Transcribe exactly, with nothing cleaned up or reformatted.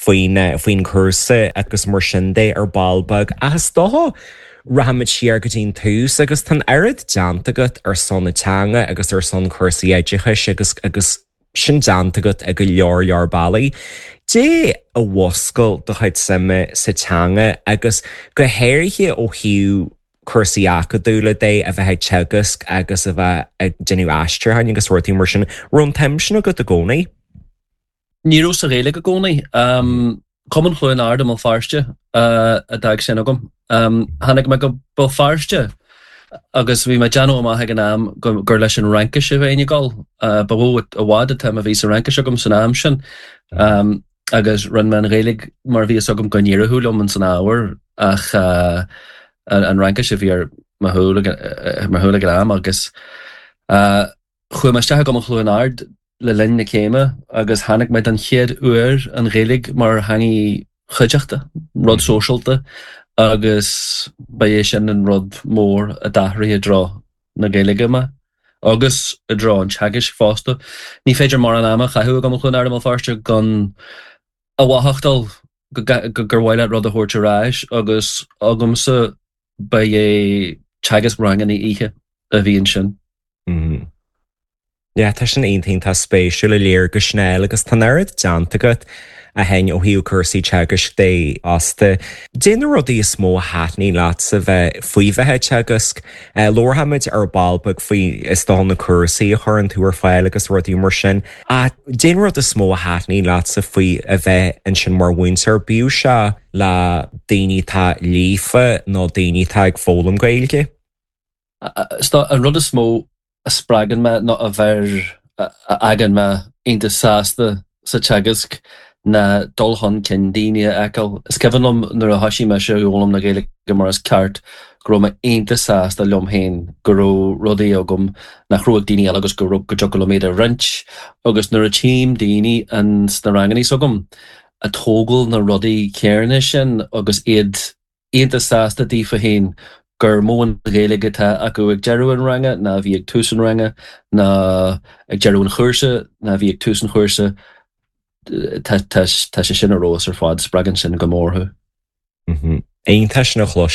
faoin faoin chúrsa agus mar sin de ar ball beag. Ach is dócha rachaimid siar go dtí an tús agus tá an oiread déanta agat ar son na teanga agus ar son cúrsaí oideachais agus agus sin déanta agat ag go leor leor bealaí. Cad é a mhúscail do chuid suime sa teanga agus go háirithe ó thaobh cúrsaí acadúla de a bheith ag teagasc agus a bheith ag déanamh aistriúcháin agus rudaí mar sin raibh an tsuim sin agat i gcónaí? Ní raibh sa Ghaeilge i gcónaí. Um, Cumann Chluain Ard i mBéal Feirste uh, a d'fhág sin agam. Um, tháinig mé go Béal Feirste agus bhí mé déanamh amach ag an am gur leis an Fhraincis a bheinn ag dul. Uh, ba mhó i bhfad an tsuim a bhí sa Fhraincis agam san am sin. Um, agus rinne mé an Ghaeilge mar bhí agam go n-éireodh liom an san ábhar ach uh, an, an Fhraincis a bhí ar mo shúil ag an am agus uh, chuaigh mé isteach go Cluain Ard le linn na céime agus tháinig mé den chéad uair an Ghaeilge mar theanga chuideachta, rud sóisialta agus ba é sin an rud mór a d'athraigh i dtreo na Gaeilge mé. agus i dtreo an teagaisc fosta. Ní féidir mar an ama chaú go chun ar fáiste gan a mhothachtáil gur mhaith rud a thabhairt ar ais agus agamsa ba é teagasc ranganna oíche a bhí ansin. Mm. Ja, tá sin iontach spéisiúil a léir go snéil agus tá oiread déanta agat a hen ó thaobh cúrsaí teagaisc de fosta. Cad é na rudaí is mó a thaitníonn leatsa bheith faoi bheith teagasc, Labharfaimid ar ball beag faoi is dócha na cúrsaí a chuireann tú ar fáil agus rudaí mar sin. A cad é an rud is mó a thaitníonn leatsa faoi a bheith ansin mar mhúinteoir bíodh sé le daoine atá líofa nó daoine atá ag foghlaim Gaeilge? An rud is mó a spreagann mé nó a bheir a fhágann mé iontach sásta sa teagasc ná dul chun cinn daoine a fheiceáil. Is cuimhin liom nuair a thosaigh mise ag foghlaim na Gaeilge mar is ceart go raibh mé iontach sásta liom féin go raibh rudaí agam nach raibh ag daoine eile agus go raibh go dtiocfadh liom iad a roinnt agus nuair a tchím daoine an sna ranganna s'agam ag tógáil na rudaí céanna sin agus iad iontach sásta daofa féin gur mó an Ghaeilge atá acu ag deireadh an ranga ná bhí ag tús an ranga ná ag deireadh an chúrsa ná bhí ag tús an chúrsa tá sé sin ar fheabhas ar fad spreagann sin go mór thú. Iontach sin a chloisteáil